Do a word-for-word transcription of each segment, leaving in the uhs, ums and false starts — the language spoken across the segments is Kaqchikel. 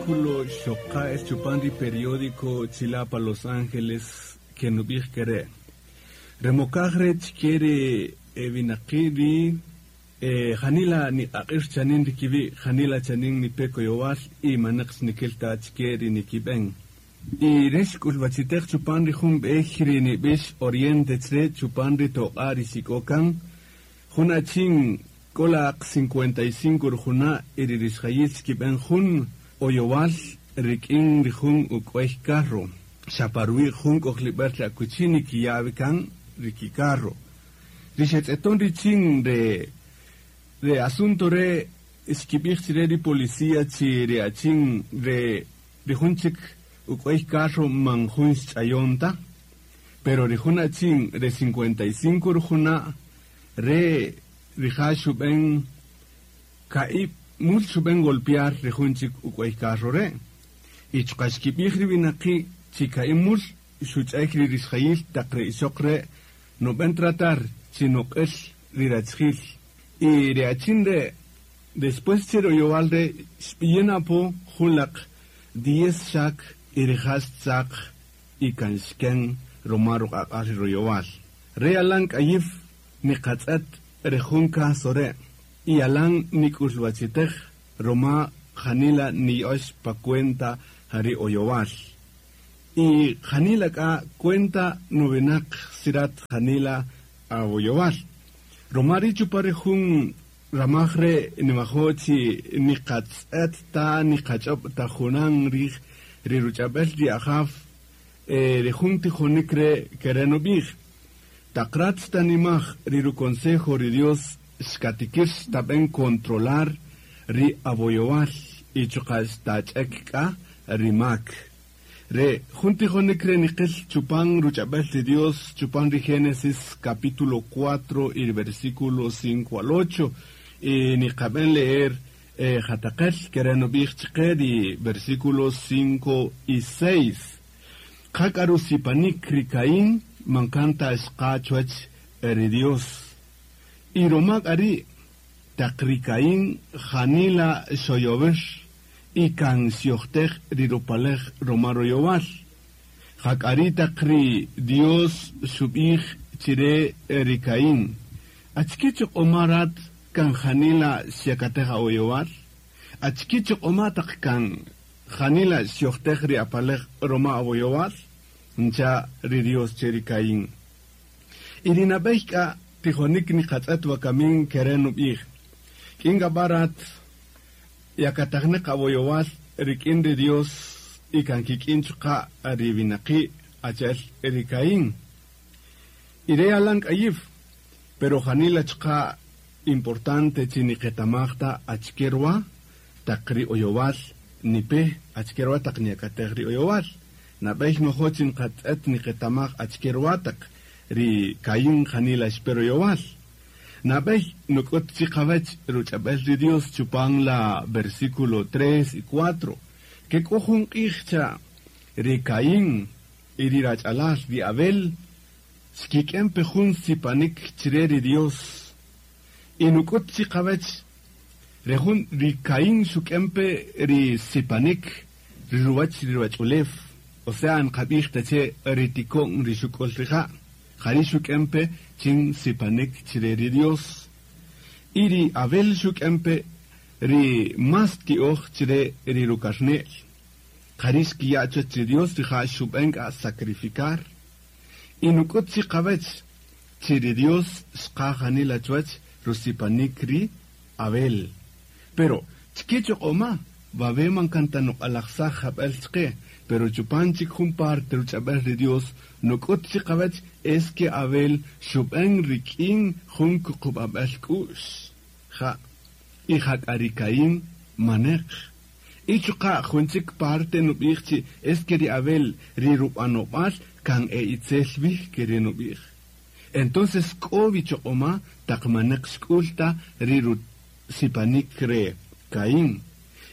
Artículo xoqa es chupan ri periódico Chilapa Los Ángeles que nubij kere. Remokaj re chkere winaqi ri janila ni aq'ir chanin ri kibi janila chanin ni peko yowal y manaq xnikil ta chke ri nikib'en. Y rex k'ulb'achitej chupan ri jun b'ej ri nib'ix Oriente chre chupan ri toq'a ri xik'okan jun achin k'olaq cincuenta y cinco rujuna y ri rixjayil xkib'en jun oyowal rik'in ri jun uk'uey carro xaparwi jun k'ojlib'al ri akuchi nikiyawikan rikicarro ri xetz'eton richin re re asunto re xkib'ij chire ri policía chi ri achin re ri jun chik uk'uey carro man jun xch'ayonta pero ri jun achin re cincuenta y cinco rujuna re rija xub'en ka'ib mul xub'en golpear ri jun chik uk'uey carro re y chuqa xkib'ij ri winaqi chi ka'ib mul xuch'ek ri rixjayil taq re ixoq re nob'en tratar chi noq'el ri rachjil y ri achin re después chiroyowal re xb'iyen apo julaq diez xak y rija xtzaq y kan xken roma ruq'aq'al ri royowal re alan k'ayif niqatz'et re jun caso re y alan nik'ulwachitej roma janila niyox pa cuenta jari oyowal y janila k'a cuenta novenaq sirat janila aoyowal roma ri chupa ri jun ramaj re nimajo chi niqatz'et ta niqach'ob ta junan rij ri ruch'ab'el ri ajaf ri jun tijonik re kere nub'ij taqrat tanimaj ri ruconsejo ri Dios xkatikir xtab'en controlar ri aboyowal y chuqa xtach'ek k'a ri mak re jun tijonik re niqil chupan ruch'ab'el ri Dios chupan ri Génesis capítulo cuatro y versículo cinco al ocho y niqab'en leer eh, jataqel kere nub'ij chqe ri versículos cinco y seis qak'aru sipanik ri Caín mankanta xqa chuwach ri Dios y romak ari taq ri Caín janila xoyover y kan xyojtej ri rupalej roma royowal jak'ari taq ri Dios xub'ij chire ri Caín achki choq'omarat kan janila xyakatej aoyowal achki choq'oma taq kan janila xyojtej ri apalej roma aoyowal ncha ri Dios che ri Caín y ri nab'ey k'a tijonik niqatz'et wakamin kere nub'ij k'in barat yakatajneq awoyowal rik'in ri Dios y kan kik'in chuqa ri winaqi achel ri Caín y re alan k'ayif pero janila chuqa importante chi niqetamajta achkerwa taq ri oyowal nipe achkerwa taq niyakatej ri oyowal nab'ey mojo chi nqatz'et niqetamaj achkerwa taq ri Caín janila xperoyowal nab'ey nuk'ut chi qawech ruch'ab'el ri Dios chupan la versículo tres y cuatro que k'o jun q'ij cha ri Caín y ri rach'alal ri Abel xkik'en pe jun sipanik chire ri Dios y nuk'ut chi qawech ri jun ri Caín xuk'en pe ri sipanik ri ruwach ri ruwach'ulew o sea nqab'ij ta che ri tikon ri xuk'ol rija' jari xuk'en pe chin sipanik chire ri Dios y ri Abel xuk'en pe ri mas ti'oj chire ri rukarne'l jari xkiya' chuwach ri Dios rija' xub'en k'a sacrificar y nuk'ut chi qawech chi ri Dios xqa janila chuwach rusipanik ri Abel pero chike choq'oma babe man kanta nuq'alajsaj jab'el chqe pero chupan chik jun parte ruch'ab'el ri Dios nuk'ut chi qawech es que Abel xub'en rik'in jun kuqub'ab'el k'u'x ja y jak'a ri Caín maneq y chuqa jun chik parte nub'ij chi es que ri Abel ri rub'anob'al kan e itzel bij ke ri nub'ij entonces k'o wichoq'oma taq maneq xk'ulta ri rusipanik re Caín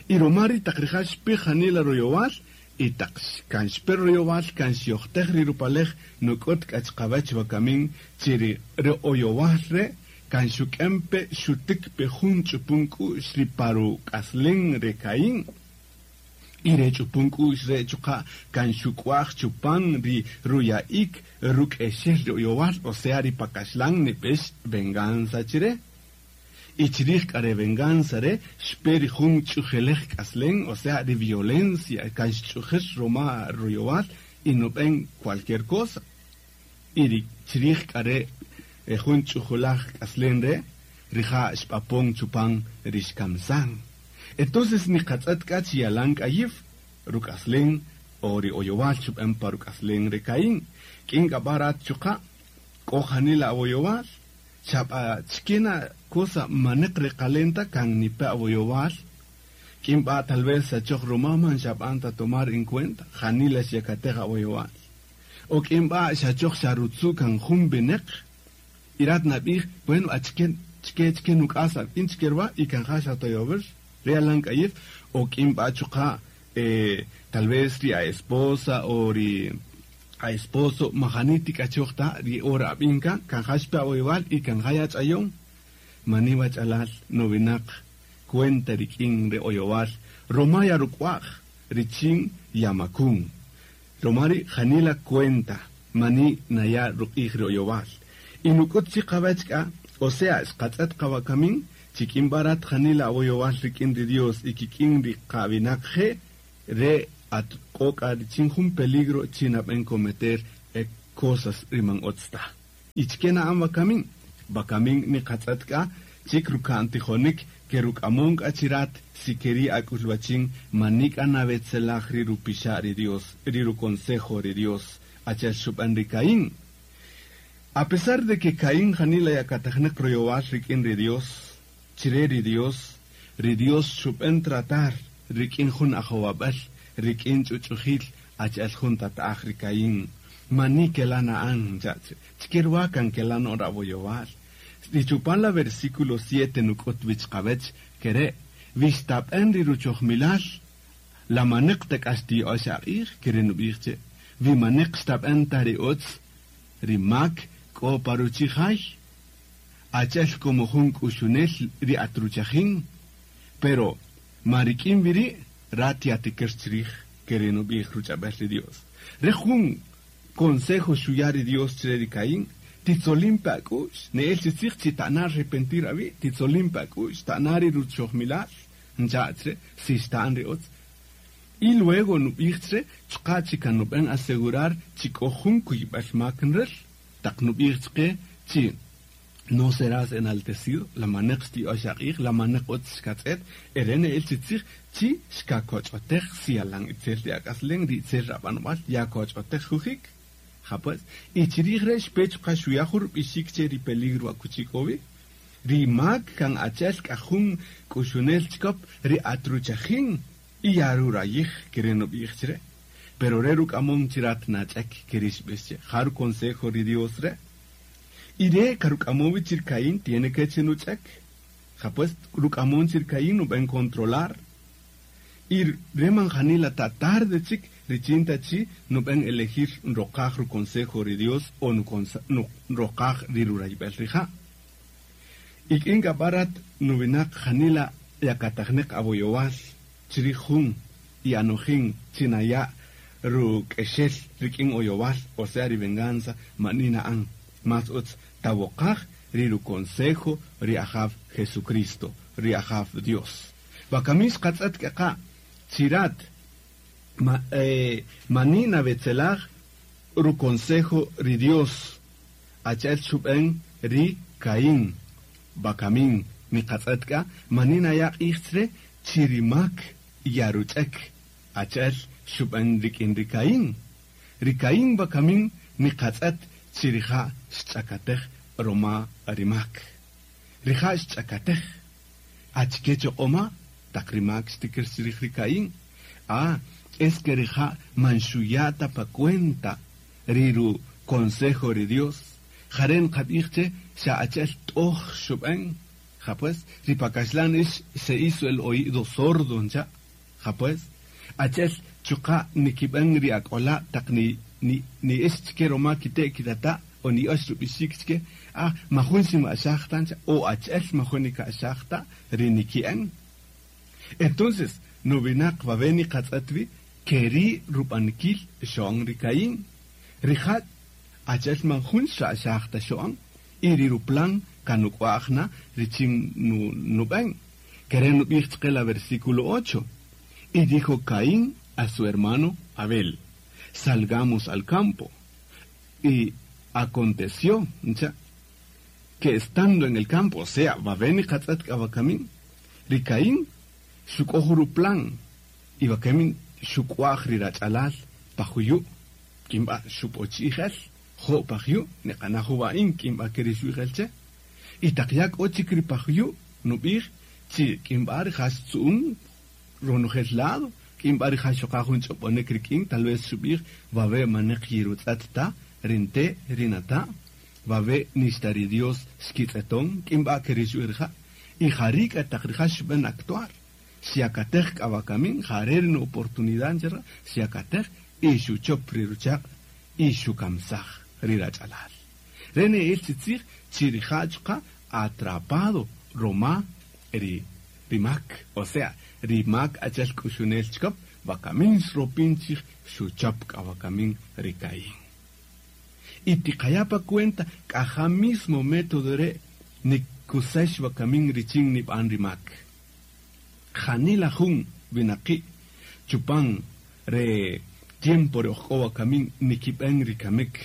y roma ri taq rija' xpi janila royowal y taq kan xpe royowal kan xyojtej ri rupalej nuk'ut k'a chqawach wakamin chi ri oyowal re kan xuk'en pe xutik pe jun ch'upun k'u'x ri paru k'aslen re Caín Y re ch'upun k'u'x re chuqa' kan xuk'waj chupan ri ruya'ik ruk'exel ri oyowal, o sea ri pakaxlan nib'ex venganza chire. Y chirij k'a re venganza re xpe ri jun ch'ujelej k'aslen, o sea ri violencia kan xch'ujel roma ruyowal y nub'en cualquier cosa. Y ri chirij k'a re jun ch'ujulaj k'aslen re rija' xb'apon chupan ri xkamsan. Entonces niqatz'et k'a chi yalan k'ayiw ruk'aslen o ri oyowal chub'en pa ruk'aslen re Caín. K'in k'a b'arat chuqa' k'o janila awoyowal, xab'a chikena cosa maneq reqalenta kan nipe awoyowal. K'in b'a tal vez achoj roma man xab'anta tomar en cuenta janila xyakatej awoyowal. O k'in b'a xachoj xarutzu kan jun bineq irat nab'ij, bueno, achken chike chike nuk'asa in chikerwa y kan ja xatoyover realan k'ayif. O k'in b'a chuqa' eh, tal vez ri a esposa o ri a esposo majani tik'achoj ta ri ora ab'inka kan ja xpe awoyowal y kan ja yach'ayon. Mani wach'alal nowinaq cuenta rik'in re oyowal roma yaruk'waj richin yamakun. Romari janila cuenta mani naya ruq'ij ri oyowal. Y nuk'ut chi qawach k'a, o sea xqatz'et qawakamin chik'in barat janila awoyowal rik'in ri Dios y kik'in ri qawinaq je re at k'o k'a richin jun peligro chinab'en cometer eh, cosas riman otz ta. Y chike na'an wakamin, wakamin niqatz'et k'a chik ruka'n tijonik ke ruk'amon k'a chirat si keri ak'ulwachin mani k'a nawetzelaj ri rupixa' ri Dios, ri ruconsejo ri Dios, achel xub'an ri Caín. A pesar de que Caín janila yakatajneq royowal rik'in ri Dios, chire ri Dios, ri Dios xub'en tratar rik'in jun ajowab'al, rik'in ch'uch'ujil achel jun tata'aj ri Caín. Mani kela na'an, chache, chikirwa kan kela no raboyowal. Ri chupan la versículo siete nuk'ut wichqawech kere, wixtab'en ri ruchojmilal, la maneq tek'axti'ox aq'ij, kere nub'ij che, wi maneq xtab'en ta ri utz, ri mak k'o paruchijay, achel como jun k'uxunel ri atruchajin, pero marik'in wiri' rat yatikir chrij, kere nub'ij ruch'ab'el ri Dios. Re jun consejo xuya ri Dios chre ri Caín, titzolin pa ak'u'x, ne'el chitzij chi ta'na arrepentir awi', titzolin pa ak'u'x, ta'na ri ruchojmilal, ncha' chre, si xta'an ri utz. Y luego nub'ij chre, chqa chi kan nub'en asegurar chi k'o jun kuyb'al mak nrel, taq nub'ij chqe chi no serás enaltecido, la maneq xti'ox aq'ij, la maneq utz xkatz'et, ere ne'el chitzij chi xkakoch'otej si yalan itzel ri ak'aslen, ri itzel rab'anb'al, yakoch'otej jujik. Ja pues, y chirij re xpe chuqa' xuya jun rub'ixik che ri peligro akuchi k'o wi. Ri mak kan achel k'a jun k'uxunel chikop ri atruchajin y yarurayij kere nub'ij chire. Pero re ruk'amon chirat nach'ek keri xb'ix che, ja ruconsejo ri Dios re. Y re karuk'amon wi chir Caín tiene que che nuch'ek. Ja pues, ruk'amon chir Caín nub'en controlar. Y re man janila ta tarde chik richin ta chi nub'en elegir nroqaj ruconsejo ri Dios o nroqaj ri rurayb'el rija'. Y k'in k'a b'arat nuwinaq janila yakatajneq awoyowal chirij jun y anojin chinaya ruk'exel rik'in oyowal, o sea ri venganza mani na'an. Mas utz tawoqaj ri ruconsejo ri ajaw Jesucristo, ri ajaw Dios. Wakamin xqatz'et k'eqa' chirat ma, eh, mani nawetzelaj ruconsejo ri Dios achel xub'en ri Caín. Wakamin niqatz'et k'a mani naya q'ij chre chirimak yaruch'ek achel xub'en rik'in ri Caín. Ri Caín wakamin niqatz'et chirija' xch'akatej roma rimak. Rija' xch'akatej achike choq'oma taq rimak xtikir chirij ri Caín. Ah, es que rija' man xuyata pa cuenta ri ru consejo ri Dios. Jaren qab'ij che xa achel t'oj xub'en. Ja pues, ri pakaxlan ix se hizo el oído sordo ncha. Ja pues, achel chuqa' nikib'en ri ak'ola' taq ni ni ni ix chike roma kite' kitata' o ni ox rub'ixik chike, ah, majun xima'xaj ta ncha, o achel majun nika'xaj ta ri niki'en. Entonces, Nuwinaq wawe niqatz'et wi keri rub'anikil xo'on ri Caín. Rija' achel man jun xa'xaj ta xo'on y ri ruplan kanuk'wa'j na richin nub'en. Kere nub'ij chqe la versículo ocho. Y dijo Caín a su hermano Abel: salgamos al campo. Y aconteció, ncha, que estando en el campo, o sea, wawe niqatz'et k'a wakamin, ri Caín xuk'oj ruplan y wakamin xuk'wa'j ri rach'alal pajuyu', k'inb'a xup'ochi'jel, jo' pajuyu', niqanaj jub'a'in k'inb'a keri xu'ijel che. Y taq ya k'o chik ri pajuyu', nub'ij chi k'inb'a rija' xtzu'un ronojel lado, k'inb'a rija' xoqa jun ch'ob'onek rik'in, tal vez xub'ij wawe maneq yirutz'et ta, rinte rinata', wawe nixta ri Dios xkitz'eton, k'inb'a keri xu'ij rija'. Y jari' k'a taq rija' xb'en actuar. Xyakatej k'a wakamin, jare' ri oportunidad nchera, xyakatej y xuchop ri ruchaq' y xukamsaj ri rach'alal. Re ne'el chi tzij chi rija' chuqa' atrapado roma ri ri mak, o sea, ri mak achel k'uxunel chikop, wakamin xropin chij xuchop k'a wakamin ri Caín. Y tiqaya pa cuenta k'aja mismo método re' nikusex wakamin richin nib'an ri mak. Janila jun winaqi' chupan re tiempo re ojk'o wakamin nikib'en ri kamek,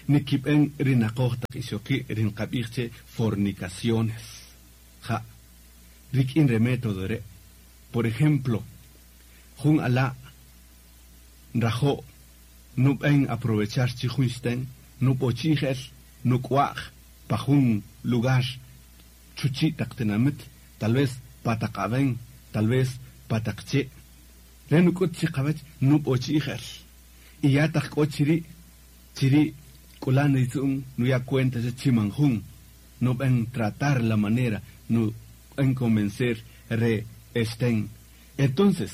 nikib'en ri naqoj taq ixoqi' ri nqab'ij che fornicaciones. Ja, rik'in re método re'. Por ejemplo, jun ala' nrajo' nub'en aprovechar chi jun xten, nub'ochi'jel, nuk'wa'j pa jun lugar chuchi' taq tinamit, tal vez pataq'aben, tal vez pataqche'. Re nuk'ut chi qawach nub'ochi'jel. Y ya taq k'o chiri', chiri' k'ulan ritzu'un nuya cuenta che chimanjun, nub'en tratar la manera, nub'en convencer re esten. Entonces,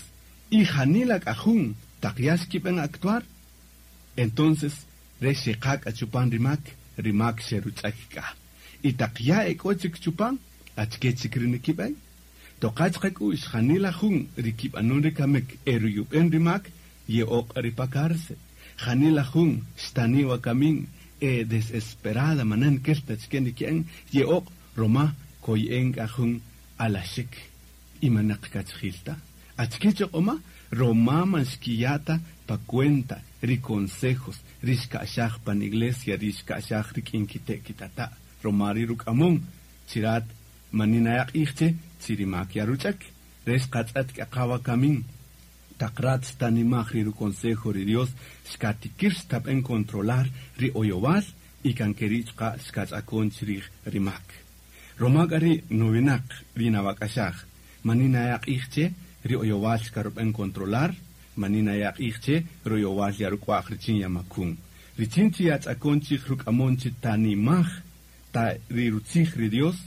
y janila k'ajun taq ya xkib'en actuar, entonces re xeqak achupan rimak, rimak xeruch'ak k'a. Y taq ya ek'o chik chupan, achke chik ri nikib'en. Toqach qak'u'x janila jun rikib'anun rikamek eruyub'en rimak, ye'oq' ri pa cárcel. Janila jun xtani wakamin e desesperada manan kelta chike niki'en, ye'oq' roma koy'en k'ajun alaxik y manaq kachjilta. Achke choq'oma roma man xkiyata pa cuenta ri consejos ri xka'xaj pan iglesia ri xka'xaj rik'in kite' kitata' roma ri ruk'amon chirat maninayaq ij che chirimak yaruch'ak re xqatz'et k'aqa wakamin taq rat xtanimaj ri ruconsejo ri Dios xkatikir xtab'en controlar ri oyowal y kan keri' chuqa' xkach'akon chrij rimak. Roma k'a ri nuwinaq ri nawak'axaj maninayaq ij che ri oyowal xkarub'en controlar, maninayaq ij che royowal yaruk'wa'j richin yamakun. Richin chi yach'akon chij ruk'amon chi tanimaj ta ri rutzij ri Dios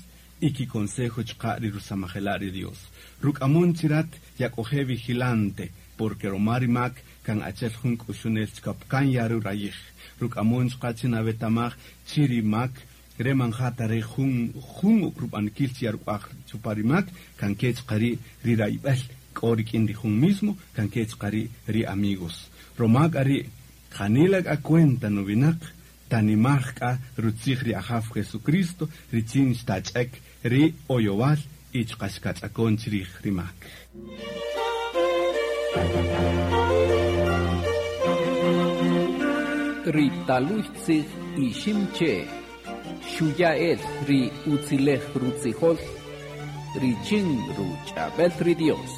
y ki consejo chuqa' ri rusamajela' ri Dios. Ruk'amon chirat yak'oje vigilante, porque roma rimak kan achel jun k'uxunel chikop kan yarurayij. Ruk'amon chuqa' chi nawetamaj chi rimak re manjata re jun jun rub'anikil chi yaruk'wa'j chupa rimak kan ke chuqa' ri ri rayb'el k'o rik'in ri jun mismo kan ke chuqa' ri ri amigos. Roma k'a ri janila k'a cuenta nuwinaq tanimaj k'a rutzij ri Ajaw Jesucristo richin xtach'ek ri oyowal y chuqa' xkach'akon chrij rimak. Ri taluy tzij iximche xuya'el ri utzilej rutzijol richin ruch'ab'el ri Dios.